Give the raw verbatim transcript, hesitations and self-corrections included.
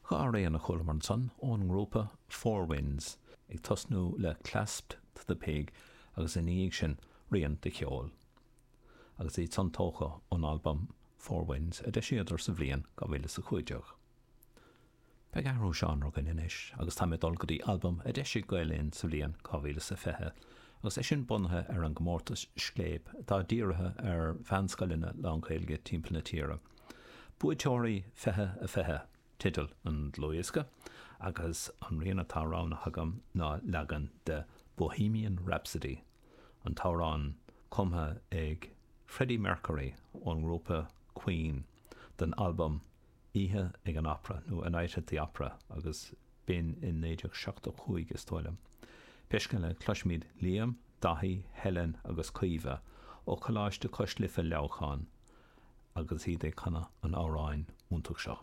Dhá rian a chualamar ansan ón ngrúpa Four Winds, ag tosnú le Clasped to the Pig agus ina dhiaidh sin Rian de Cheol. Agus iad san tógtha ón albam Four Winds a d'eisíodar sa bhliain dhá mhíle is a cúig déag. Beidh athrú seánra againn anois agus tá mé ag dul go dtí albam a d'eisigh Gael Linn sa bhliain dhá mhíle is a fiche agus é sin bunaithe ar an gcomórtas Scléip atá dírithe ar mheánscoileanna lán-Ghaeilge timpeall na tíre. Buaiteoirí fiche a fiche teideal an dlúthdhiosca agus an rian atá roghnaithe agam ná leagan de Bohemian Rhapsody, an t-amhrán cumtha ag Freddie Mercury ón ngrúpa Queen don albam Oíche ag an Opera nó A Night at the Opera agus b'in in naoi déag seachtó cúig is dóigh liom. Pé scéal é, cloisfimid Liam, Daithí, Helen agus Caoimhe ó Choláiste Cois Life Leamhcán agus iad ag canadh an amhráin iontach seo.